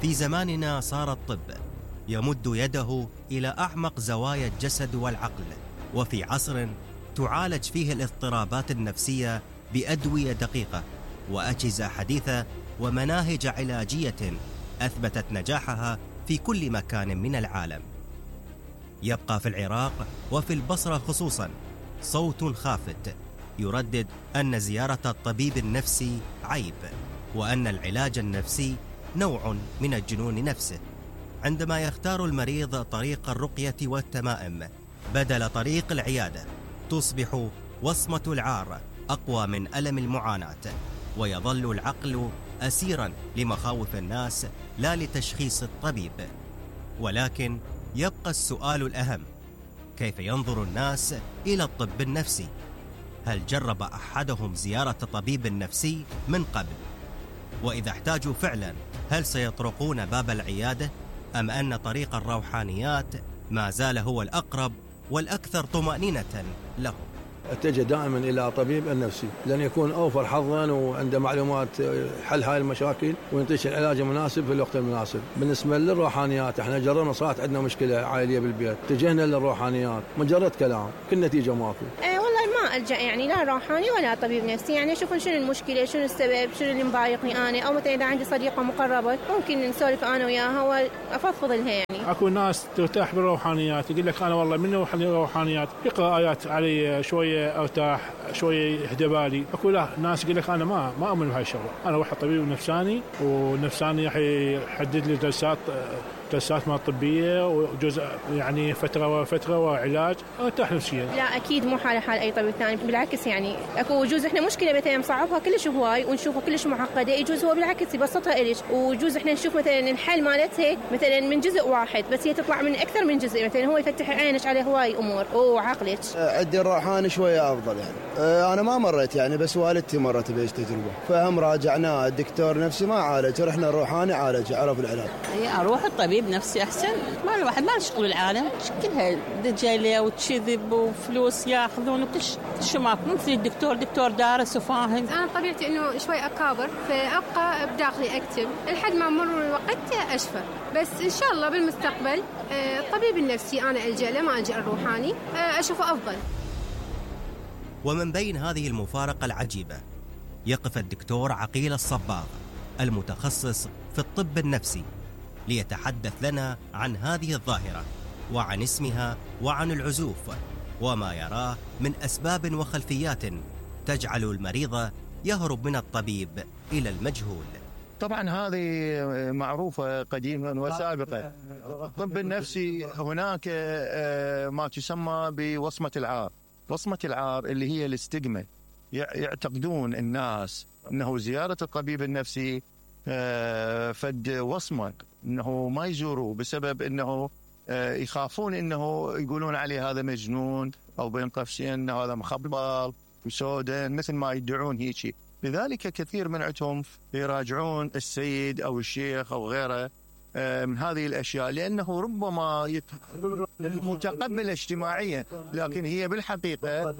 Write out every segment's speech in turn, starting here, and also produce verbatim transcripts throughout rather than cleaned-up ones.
في زماننا صار الطب يمد يده إلى أعمق زوايا الجسد والعقل، وفي عصر تعالج فيه الاضطرابات النفسية بأدوية دقيقة وأجهزة حديثة ومناهج علاجية أثبتت نجاحها في كل مكان من العالم. يبقى في العراق وفي البصرة خصوصا صوت خافت يردد أن زيارة الطبيب النفسي عيب، وأن العلاج النفسي نوع من الجنون نفسه، عندما يختار المريض طريق الرقية والتمائم بدل طريق العيادة تصبح وصمة العار أقوى من ألم المعاناة، ويظل العقل أسيرا لمخاوف الناس لا لتشخيص الطبيب. ولكن يبقى السؤال الأهم: كيف ينظر الناس إلى الطب النفسي؟ هل جرب أحدهم زيارة طبيب نفسي من قبل؟ وإذا احتاجوا فعلا هل سيطرقون باب العيادة؟ أم أن طريق الروحانيات ما زال هو الأقرب والأكثر طمأنينة لهم؟ اتجه دائما إلى طبيب النفسي لأن يكون أوفر حظا وعنده معلومات حل هاي المشاكل وينتشر العلاج المناسب في الوقت المناسب. بالنسبة للروحانيات احنا جربنا، صارت عندنا مشكلة عائلية بالبيت، اتجهنا للروحانيات، مجرد كلام كل نتيجة ماكو. ايه والله ما ألجأ يعني لا روحاني ولا طبيب نفسي، يعني أشوف شنو المشكلة، شنو السبب، شنو اللي مضايقني أنا، أو مثلا إذا عندي صديقة مقربة ممكن نسولف أنا وياها وأفضفض لها. يعني اكو ناس ترتاح بالروحانيات، يقول لك انا والله من روح الروحانيات يقرا ايات علي شويه ارتاح شويه يهدى بالي. اكو لا ناس يقول لك انا ما ما اؤمن بهاي الشغله، انا اروح طبيب نفساني ونفساني راح يحدد لي جلسات جلسات ما طبيه وجزء يعني فتره وفتره وعلاج ارتاح نفسيا. لا اكيد مو حاله حال اي طبيب ثاني، بالعكس يعني اكو يجوز احنا مشكله مثلا مصعبها كلش هواي ونشوفها كلش معقده، يجوز هو بالعكس يبسطها الك، ويجوز احنا نشوف مثلا الحل مالتها مثلا من جزء واحد بس هي تطلع من اكثر من جزء، مثلا هو يفتح عينك على هواي امور وعقلك. عندي الروحاني شويه افضل يعني. انا ما مريت يعني بس والدتي مرت بهيج تجربه، فهم راجعناه الدكتور نفسي ما عالج، رحنا الروحاني عالج عرف العلاج. اروح الطبيب نفسي احسن، ما الواحد ما شغل العالم كلها دجاله وتشذب وفلوس ياخذون وكل شيء ماكو، مثل الدكتور دكتور دارس وفاهم. انا طبيعتي انه شوي اكابر فابقى بداخلي اكتب لحد ما مرور الوقت اشفى، بس ان شاء الله بالمستقبل الطبيب النفسي انا الجا له ما الجا الروحاني اشوفه افضل. ومن بين هذه المفارقه العجيبه يقف الدكتور عقيل الصباغ المتخصص في الطب النفسي ليتحدث لنا عن هذه الظاهرة وعن اسمها وعن العزوف وما يراه من أسباب وخلفيات تجعل المريض يهرب من الطبيب إلى المجهول. طبعا هذه معروفة قديما وسابقا. الطب النفسي هناك ما تسمى بوصمة العار. وصمة العار اللي هي الاستجمة، يعتقدون الناس أنه زيارة الطبيب النفسي فد وصمة انه ما يزوروه بسبب انه يخافون انه يقولون عليه هذا مجنون او بين قوسين انه هذا مخبل وسودان مثل ما يدعون هيك. لذلك كثير من عندهم يراجعون السيد او الشيخ او غيره من هذه الاشياء، لانه ربما متقبل اجتماعيا لكن هي بالحقيقه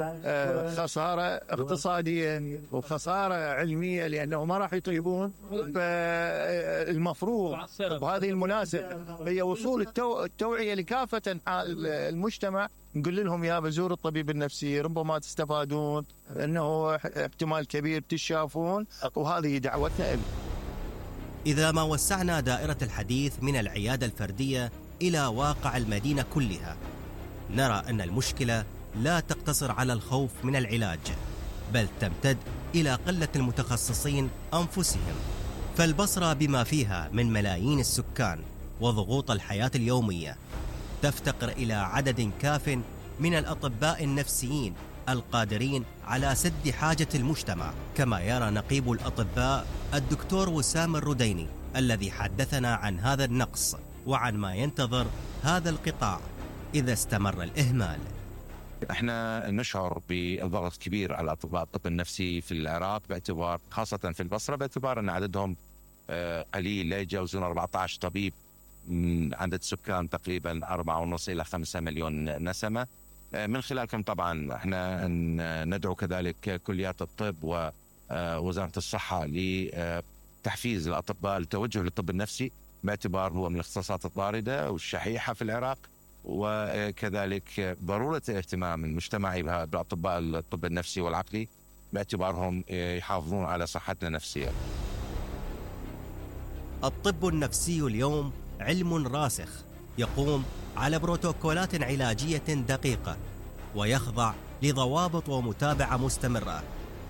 خساره اقتصاديه وخساره علميه لانه ما راح يطيبون. فالمفروض بهذه المناسبه هي وصول التو... التوعيه لكافه المجتمع، نقول لهم يا بزور الطبيب النفسي ربما تستفادون، انه احتمال كبير تشافون، وهذه دعوتنا لهم. إذا ما وسعنا دائرة الحديث من العيادة الفردية إلى واقع المدينة كلها، نرى أن المشكلة لا تقتصر على الخوف من العلاج، بل تمتد إلى قلة المتخصصين أنفسهم. فالبصرة بما فيها من ملايين السكان وضغوط الحياة اليومية تفتقر إلى عدد كاف من الأطباء النفسيين القادرين على سد حاجة المجتمع، كما يرى نقيب الأطباء الدكتور وسام الرديني الذي حدثنا عن هذا النقص وعن ما ينتظر هذا القطاع إذا استمر الإهمال. احنا نشعر بضغط كبير على أطباء الطب النفسي في العراق، باعتبار خاصة في البصرة باعتبار أن عددهم قليل، لا يتجاوزون أربعة عشر طبيب من عدد سكان تقريبا أربعة ونص إلى خمسة مليون نسمة. من خلالكم طبعا احنا ندعو كذلك كليات الطب ووزارة الصحة لتحفيز الأطباء للتوجه للطب النفسي باعتبار هو من الاختصاصات الطاردة والشحيحة في العراق، وكذلك ضرورة الاهتمام المجتمعي بأطباء الطب النفسي والعقلي باعتبارهم يحافظون على صحتنا النفسية. الطب النفسي اليوم علم راسخ يقوم على بروتوكولات علاجية دقيقة ويخضع لضوابط ومتابعة مستمرة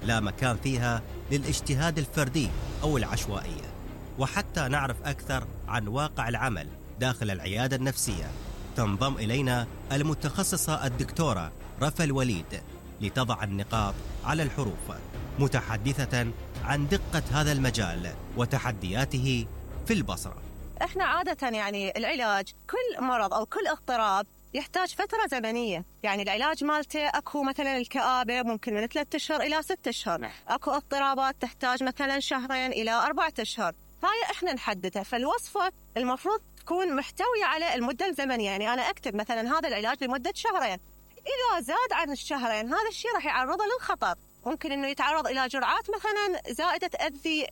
لا مكان فيها للاجتهاد الفردي أو العشوائية. وحتى نعرف أكثر عن واقع العمل داخل العيادة النفسية تنضم إلينا المتخصصة الدكتورة رفا الوليد لتضع النقاط على الحروف، متحدثة عن دقة هذا المجال وتحدياته في البصرة. احنا عادة يعني العلاج كل مرض أو كل اضطراب يحتاج فترة زمنية، يعني العلاج مالته أكو مثلا الكآبة ممكن من ثلاثة أشهر إلى ستة أشهر، أكو اضطرابات تحتاج مثلا شهرين إلى أربعة أشهر، هاي احنا نحددها. فالوصفة المفروض تكون محتوية على المدة الزمنية، يعني أنا أكتب مثلا هذا العلاج لمدة شهرين، إذا زاد عن الشهرين هذا الشيء راح يعرضه للخطر، ممكن إنه يتعرض إلى جرعات مثلا زائدة تأذي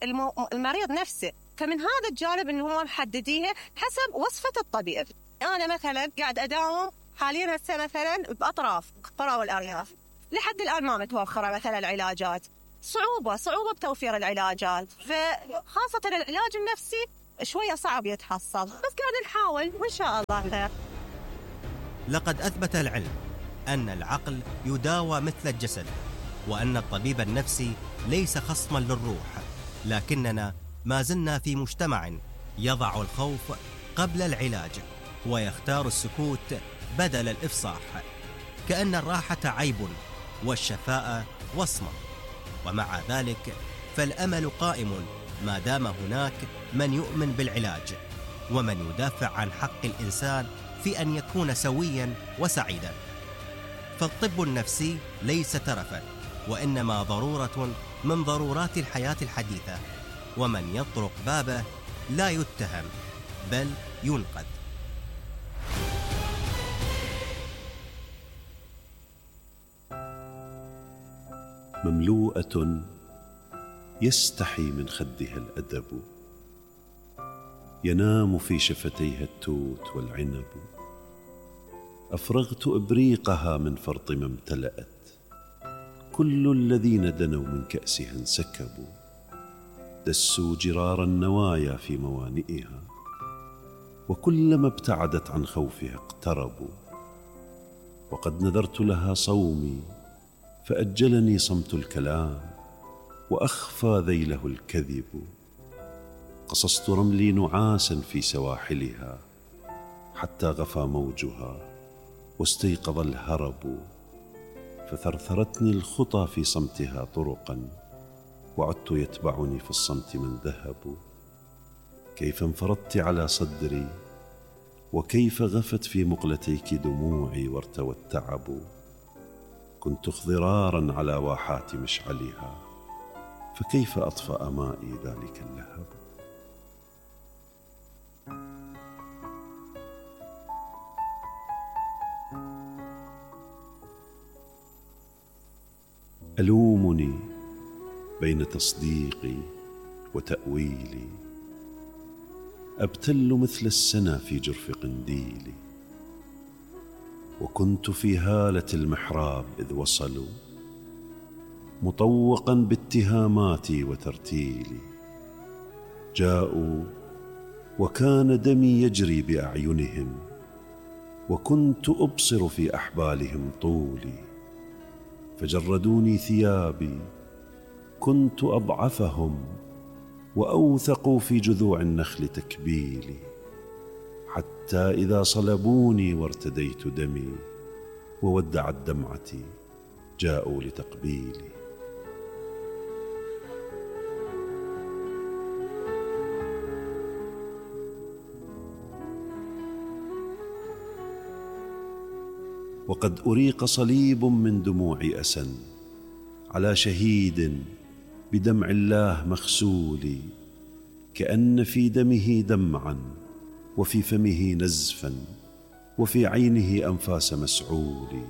المريض نفسه. فمن هذا الجانب إنه هو محدديها حسب وصفة الطبيب. أنا مثلا قاعد أداوم حاليا هسه مثلا بأطراف القرى والأرياف، لحد الآن ما متوفرة مثلا العلاجات، صعوبة صعوبة بتوفير العلاجات، فخاصة العلاج النفسي شوية صعب يتحصل، بس قاعد نحاول وإن شاء الله خير. لقد أثبت العلم أن العقل يداوى مثل الجسد، وأن الطبيب النفسي ليس خصما للروح، لكننا ما زلنا في مجتمع يضع الخوف قبل العلاج ويختار السكوت بدل الإفصاح، كأن الراحة عيب والشفاء وصمة. ومع ذلك فالأمل قائم ما دام هناك من يؤمن بالعلاج ومن يدافع عن حق الإنسان في أن يكون سويا وسعيدا. فالطب النفسي ليس ترفا، وإنما ضرورة من ضرورات الحياة الحديثة، ومن يطرق بابه لا يتهم بل ينقذ. مملوءة يستحي من خدها الأدب، ينام في شفتيها التوت والعنب، أفرغت إبريقها من فرط ما امتلأت، كل الذين دنوا من كأسها انسكبوا، دسوا جرار النوايا في موانئها، وكلما ابتعدت عن خوفها اقتربوا. وقد نذرت لها صومي فأجلني صمت الكلام، وأخفى ذيله الكذب. قصصت رملي نعاسا في سواحلها، حتى غفى موجها واستيقظ الهرب. فثرثرتني الخطى في صمتها طرقا، وعدت يتبعني في الصمت من ذهب. كيف انفرضت على صدري، وكيف غفت في مقلتيك دموعي وارتوى التعب. كنت اخضرارا على واحات مشعلها، فكيف أطفأ مائي ذلك اللهب. ألومني بين تصديقي وتأويلي، أبتل مثل السنا في جرف قنديلي. وكنت في هالة المحراب إذ وصلوا، مطوقا باتهاماتي وترتيلي. جاءوا وكان دمي يجري بأعينهم، وكنت أبصر في أحبالهم طولي. فجردوني ثيابي، كنت أضعفهم، وأوثقوا في جذوع النخل تكبيلي. حتى إذا صلبوني وارتديت دمي، وودعت دمعتي، جاءوا لتقبيلي. وقد أريق صليب من دموع أسى على شهيد بدمع الله مغسول، كأن في دمه دمعا، وفي فمه نزفا، وفي عينه أنفاس مسعول.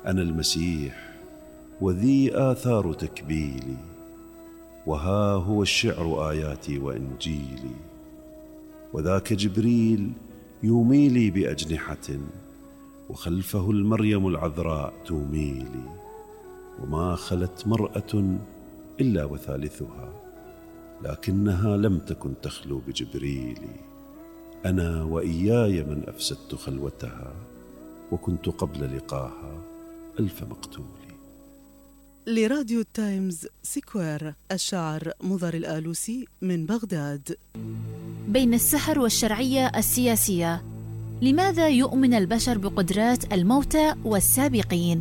أنا المسيح وذي آثار تكبيلي، وها هو الشعر آياتي وإنجيلي. وذاك جبريل يومي لي بأجنحة، وخلفه المريم العذراء توميلي، وما خلت مرأة إلا وثالثها، لكنها لم تكن تخلو بجبريل. أنا وإياي من أفسدت خلوتها، وكنت قبل لقاها ألف مقتول. لراديو التايمز سكوير، الشاعر مضر الآلوسي من بغداد. بين السحر والشرعية السياسية، لماذا يؤمن البشر بقدرات الموتى والسابقين؟